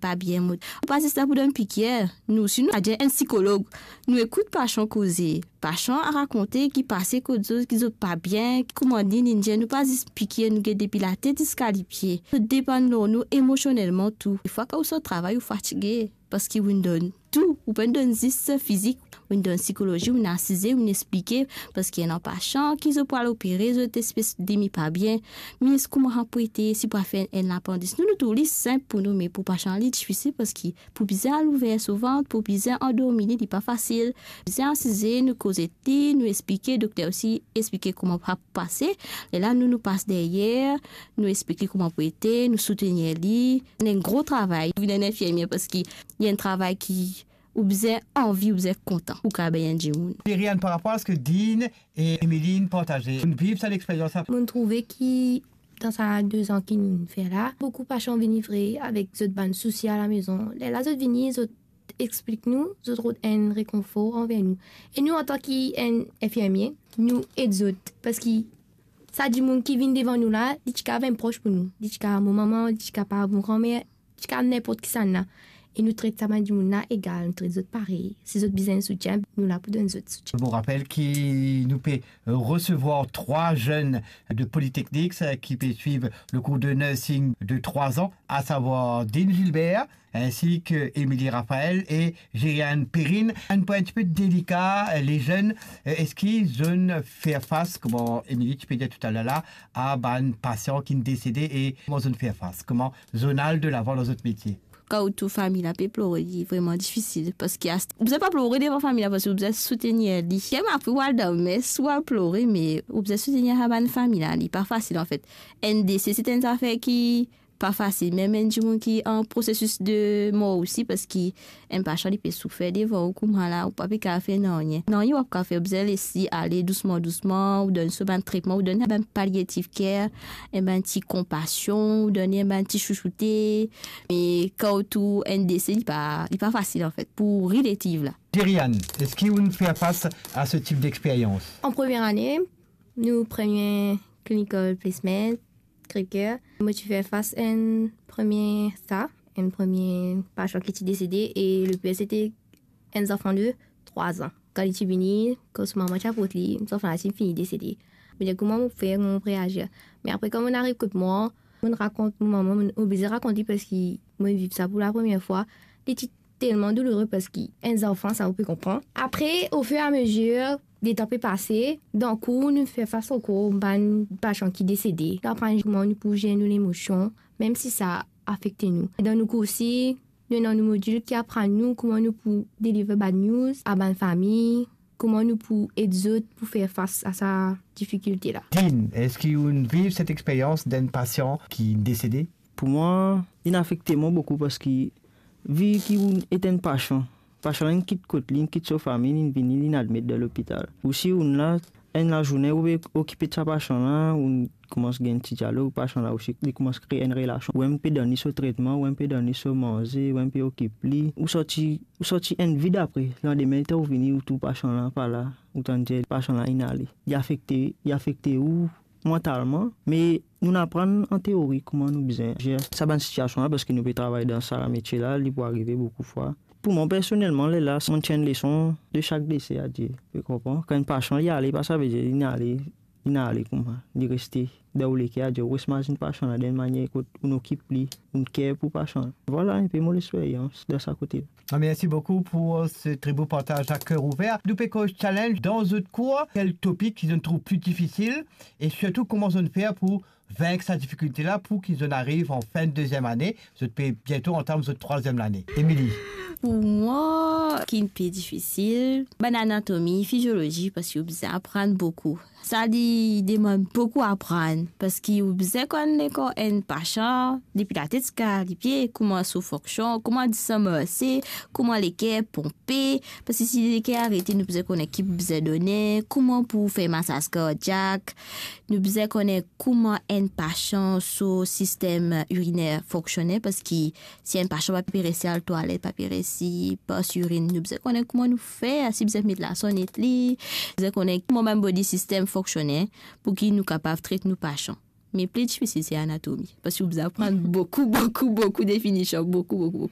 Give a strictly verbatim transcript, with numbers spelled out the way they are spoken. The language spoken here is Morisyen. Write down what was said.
pa bien, mo pa zis la pou donn pikir. Nou, si nou adir enn sikolog, nou ekout pasan koze, pasan a rakonte ki pase kot zot, ki zot pa bien, kouma li, li dir, nou pa zis pikir, nou get depi latet ziska lipie. Zot depann lor nou emosionelman tou. Defwa, kan ou sort travay, ou fatige, parski ou donn tou, ou pa donn zis fizik, ou donn sikolozi, ou asize, ou esplike, parski ena pasan ki zot pou al opere, zot espes demi pa bien, me kouma pou ete, si pou al fer enn lapandis. Nou, nou trouv li sinp pou nou, me pou pasan, li difisil, parski pou bizin al ouver so vant, pou bizin andormi li, li pa fasil. Bizin asize, nou koze li, nou esplike, dokter osi esplike kouma pou pase. Lerla nou, nou pas deryer, nou esplike kouma pou ete, nou soutenir li. Enn gro travay, vinn enn infirmie, parski li enn travay ki ou bizin anvi, ou bizin kontan pou kapav ed enn dimoun. Deriane, par rapor a seki Dean e Emeline partaze, nou viv sa lexperyans la. Mo trouve ki dan sa de zan ki nou fer la, boukou pasan vini vre avek zot bann sousi alamezon. Lerla zot vini, zot explik nou, zot rod enn rekonfor anver nou. E nou, antan ki enn infirmie, nou ed zot, parski sa dimoun ki vinn devan nou la, li ti kapav enn pros pou nou, li ti kapav mo manman, li ti kapav mo granmer, ti kapav ninport kisannla. E nou tret sa bann dimoun la egal, nou tret zot parey. Si zot bizin soutien, nou la pou donn zot soutien. Mo rapel ki nou pe resevwar trwa zenn de Polytechnique, eh, ki pe swiv le cours de nursing de trois ans, à savoir Dean Gilbert, ainsi que Émilie Raphaël et Gériane Perrine. Enn pwin enn tipe delika, eh, lezenn, eh, eski zot inn fer fas, kouma Émilie ti pe dir toutaler la, a bann pasian ki'nn desede e kouma zot inn fer fas, kouma zot inn al delavan dan zot metie? Kan ou trouv fami la pe plore, li vreman difisil, parski ast-, ou bizin pa plore devan fami la, parski ou bizin soutenir li. Mem apre ou al dan mes, ou al plore, me ou bizin soutenir sa bann fami la, li pa fasil, anfet. Enn dese, se enn zafer ki pa fasil. Mem enn dimoun ki an prosesis de mor osi, parski enn pasan, li pe soufer devan ou kouma la, ou pa pe kapav fer nanye. Nanye ou pa kapav fer, ou bizin les li ale dousman, dousman, ou donn so bann tretman, ou donn bann palliative care, enn bann ti konpasion, ou donn enn bann ti chouchoute. Me kan ou trouv enn dese, li pa, li pa fasil, anfet, pou relative la. Deriane, eski ou inn fer fas a se tip dexperyans? An premie ane, nou premie clinical placement, Crèvecoeur, mo ti fer fas enn premie sa, enn premie pasan ki ti desede, e le pir, se ti enn zanfan de trwa zan. Kan li ti vini, kan so mama ti aport li, zanfan la ti fini desede. Mo dir, kouma mo fer, kouma mo reazir? Me apre, kan mo ariv kot mwa, mo rakont mo mama, mo oblize rakont li, parski mo viv sa pou lapremier fwa. Li ti telman doulere, parski enn zanfan, sa ou pe konpran. Apre, ofiramezie, letan pe pase, dan kour nou fer fas ankor bann pasan ki desede. Li aprann kouma nou pou zer nou lemosion, mem si sa afekte nou. Dan nou kour osi, nou ena nou modil ki aprann nou kouma nou pou deliver bad news a bann fami, kouma nou pou ed zot pou fer fas a sa difikilte la. Dean, eski ou inn viv set experyans d'enn pasian ki desede? Pou mwa, linn afekte mwa boukou, parski vi ki ou inn et enn pasan, pasan la inn kit kot li, inn kit so fami, linn vini, linn admet dan lopital. Ou si ou inn la, enn lazourne ou pe okipe de sa pasan la, ou koumans gagn ti dialog, pasan la osi, li koumans kree enn relasion. Ou mem pe donn li so tretman, ou mem pe donn li so manze, ou mem pe okip li. Ou sorti, ou sorti enn vid apre. Landime letan ou vini, ou trouv pasan la pa la, ou tann dir pasan la inn ale. Li afekte, li afekte ou mantalman, me nou aprann an teori kouma nou bizin zer sa bann sitiasion la, parski nou pe travay dan sa lametie la, li pou arive boukou fwa. Pou mwa, personelman, lerla, mo ti enn leson de sak dese, adir, ou konpran? Kan enn pasan li ale, pa savedir linn ale, linn ale koumsa, li reste dan ou leker, adir, ou res mazinn pasan la dan enn manier kot ou okip li, ou care pou pasan la. Vwala enpe mo lexperyans dan sa kote la. Ah, merci beaucoup pour, euh, ce très beau partage à cœur ouvert. Nou pe koz challenge dan zot kour, kel topik ki zot trouv pli difisil, e sirtou kouma zot fer pou vink sa difikilte la, pou ki zot ariv an fin deziem ane, zot pe biento antam zot trwaziem lane. Émilie. Pou mwa, ki pli difisil, bann anatomi, fiziolozi, parski ou bizin aprann boukou. Sa li demann boukou aprann, parski ou bizin konn lekor enn pasan, depi latet ziska lipie, kouma so fonksion, kouma li sanble, kouma leker ponpe, parski si leker arete, nou bizin kone ki pou bizin done, kouma pou fer masaz kardiak, nou bizin kone kouma enn pasan so sistem iriner fonksione, parski si enn pasan pa pe resi al twalet, pa pe resi pas irin, nou bizin kone kouma nou fer, si bizin met lasonnet li, bizin kone kouma bann body system fonksione, pou ki nou kapav tret nou pasan. Me pli difisil se anatomi, parski ou bizin aprann boukou, boukou, boukou definision, boukou, boukou, boukou.